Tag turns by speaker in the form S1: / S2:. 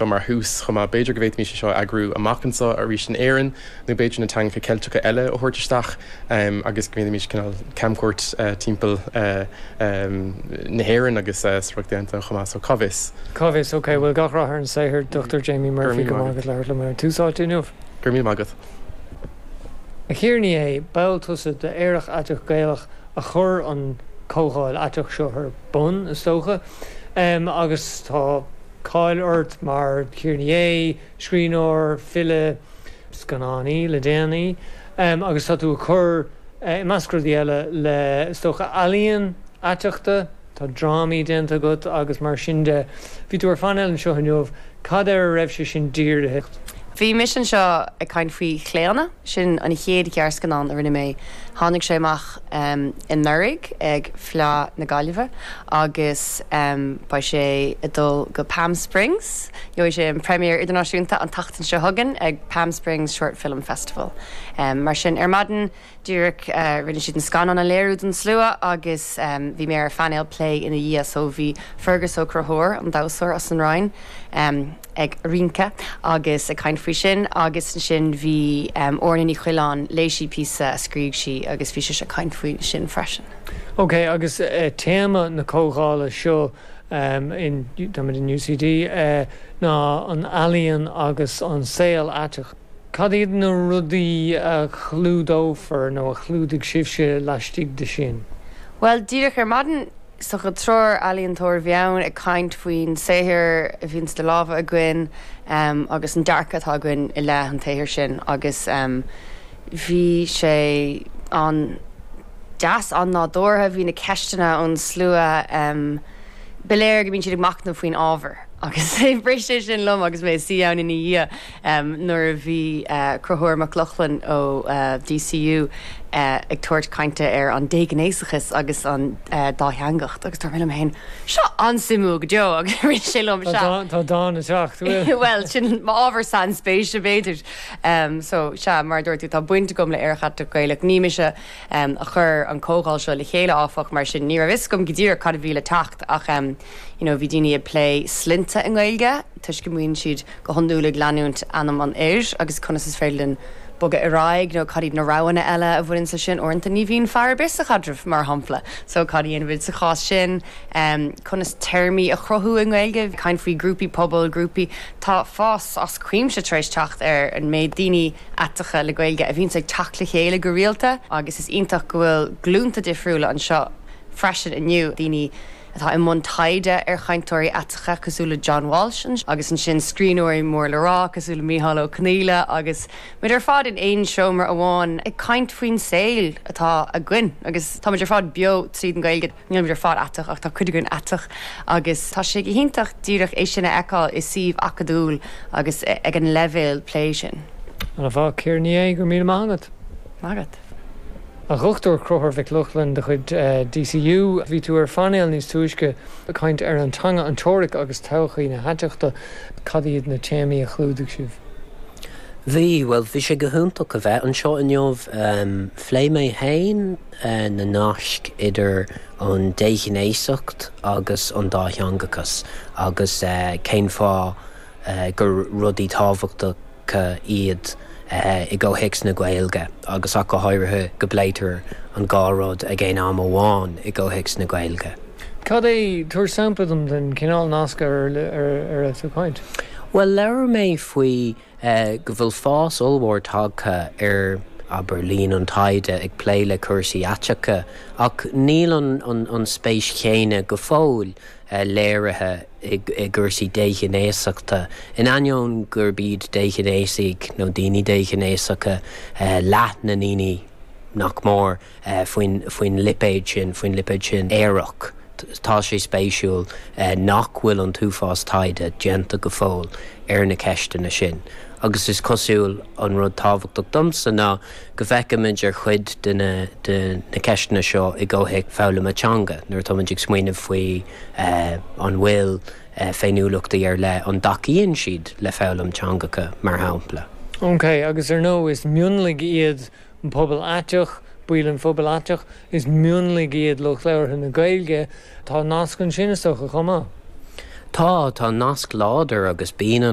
S1: Mar thús chomh maith, b'fhéidir go bhféadfaimis é seo a eagrú amach anseo arís in Éirinn nó b'fhéidir na teangacha Ceilteacha eile a thabhairt isteach agus go ndéanfaimis cineál camchuairt timpeall na hÉireann agus sa Ríocht Aontaithe chomh maith, so cá bhfios?
S2: Cá bhfios? Ok, bhuel gach rath ar an saothar, Dr Jamie Murphy, go raibh maith agat labhairt liom ar Tús Áite inniu.
S1: Go raibh míle maith agat.
S2: A Chiara Ní É, ball tusa de Aerach Aiteach Gaelach a chuir an comhdháil aiteach seo ar bun, is dócha, agus tá. cáil ort mar Chiara Ní É, scríbhneoir, file, scannánaí le déanaí, agus tá tú ag cur, i measc rudaí eile, le, is dócha, ealaíon aiteachta, tá drámaí déanta agat agus mar sin de. Bhí tú ar phainéal anseo inniu, cad air a raibh sé sin dírithe?
S3: Bhí mise anseo ag caint faoi Chlaonadh. Sin an chéad ghearrscannán a rinne mé. Tháinig sé amach anuraidh ag Fleadh na Gaillimhe agus beidh sé ag dul go Palm Springs. Gheobhaidh sé an premiere idirnáisiúnta an tseachtain seo chugainn ag Palm Springs Short Film Festival. Mar sin, ar maidin díreach rinne siad an scannán a léiriú don slua agus bhí mé ar phainéal plé ina dhiaidh. So bhí Fergus Ó Conchúir, an damhsóir as an Rinn, ag rince agus ag caint faoi sin agus ansin bhí Orna Ní Choileáin, léigh sí píosa a scrígh sí agus bhí sise ag caint faoi sin freisin.
S2: Ok, agus téama na comhdhála seo in, táimid in UCD, ná an ealaíon agus an saol aiteach. Cad iad na rudaí a chlúdófar nó a chlúdaigh sibhse laistigh de sin?
S3: Bhuel, díreach ar maidin, Is dócha triúr ealaíontóir a bhí ann ag caint faoin saothar a bhíonn idir lámha againn agus an dearcadh atá againn i leith an tsaothair sin agus bhí sé an-deas, an-nádúrtha, bhí na ceisteanna ón slua, ba léir go mbíonn siad ag machnamh faoin ábhar agus bhris sé sin liom agus mé ag suí ann ina dhiaidh. Nuair a bhí Conchúr Mac Lochlainn ó DCU ag tabhairt cainte ar an déghnéasachas agus an dátheangacht agus dúirt mé liom féin, seo an-suimiúil go deo agus rith sé liom,
S2: sea. Tá dán ag teacht,
S3: bhfuil? Bhuel, sin m'ábhar sainspéise, b'fhéidir. So, sea, mar a dúirt tú, tá baint agam le Aerach Aiteach Gaelach. Ní mise a chuir an comhdháil seo le chéile, áfach, mar sin ní raibh fhios agam go díreach cad a bhí le teacht ach you know bhí daoine ag plé sloinnte i nGaeilge toisc go mbíonn siad go hiondúil ag leanúint ainm an fhir agus conas is féidir linn bogadh ar aghaidh nó cad iad na roghanna eile a bhaineann leis sin. Uaireanta ní bhíonn fear ar bith sa chaidreamh, mar shampla, so cad a dhéanfaimid sa chás sin? Conas téarmaí a chruthú i nGaeilge? Caint faoi grúpaí pobail, grúpaí. Tá fás as cuimse tar éis teacht ar an méid daoine aiteacha le Gaeilge a bhíonns ag teacht le chéile go rialta agus is iontach go bhfuil glúnta difriúla anseo freisin inniu, daoine atá i mbun taighde ar chainteoirí aiteacha cosúil le John Walsh agus ansin scríbhneoirí mór le rá cosúil le Mícheál Ó Conghaile agus muid ar fad in aon seomra amháin ag caint faoin saol atá againn agus táimid ar fad beo tríd an Ghaeilge. Nílimid ar fad aiteach ach tá cuid againn aiteach agus tá sé go hiontach díreach é sin a fheiceáil i suíomh acadúil agus ag an leibhéal plé sin.
S2: Ana-mhaith, Ciara Ní É, go raibh míle maith agat.
S3: Maith agat.
S2: A Dhochtúir Conchúr Mhic Lochlainn de chuid DCU, bhí tú ar phainéal níos túisce ag caint ar an teanga, an teoiric agus todhchaí na haiteachta. Cad iad na téamaí a chlúdaigh sibh?
S4: Bhí, bhuel, bhí sé go hiontach a bheith anseo inniu. Phléigh mé féin na naisc idir an déghnéasacht agus an dátheangachas agus cén fáth gur rudaí tábhachtacha iad i gcomhthéacs na Gaeilge agus ach go háirithe go bpléitear an dhá rud ag aon am amháin i gcomhthéacs na Gaeilge.
S2: Cad é, tabhair sampla dom den chineál nasc ar a raibh tú ag caint.
S4: Bhuel, labhair mé faoi go bhfuil fás ollmhór tagtha ar, abair, líon an taighde ag plé le cúrsaí aiteacha ach níl an spéis chéanna go fóill léirithe i gcúrsaí déghnéasachta, in ainneoin gurb iad déghnéasaigh nó daoine déghnéasacha leath na ndaoine, nach mór, faoin lipéad sin, faoin lipéad sin aerach. Tá sé spéisiúil nach bhfuil an t-uafás taighde déanta go fóill ar na ceisteanna sin. Agus is cosúil, an rud tábhachtach domsa ná go bhfeicimid ar chuid de na de na ceisteanna seo i gcomhthéacs foghlama teanga, nuair atáimid ag smaoineamh faoi an bhfuil féiniúlachtaí ar leith, an dtacaíonn siad le foghlaim teangacha, mar shampla.
S2: Ok, agus ar ndóigh is mionlaigh iad an pobal aiteach, baill an phobail aiteach, is mionlaigh iad lucht labhartha na Gaeilge, tá nasc ansin is dócha chomh maith.
S4: Tá, tá nasc láidir agus bíonn an.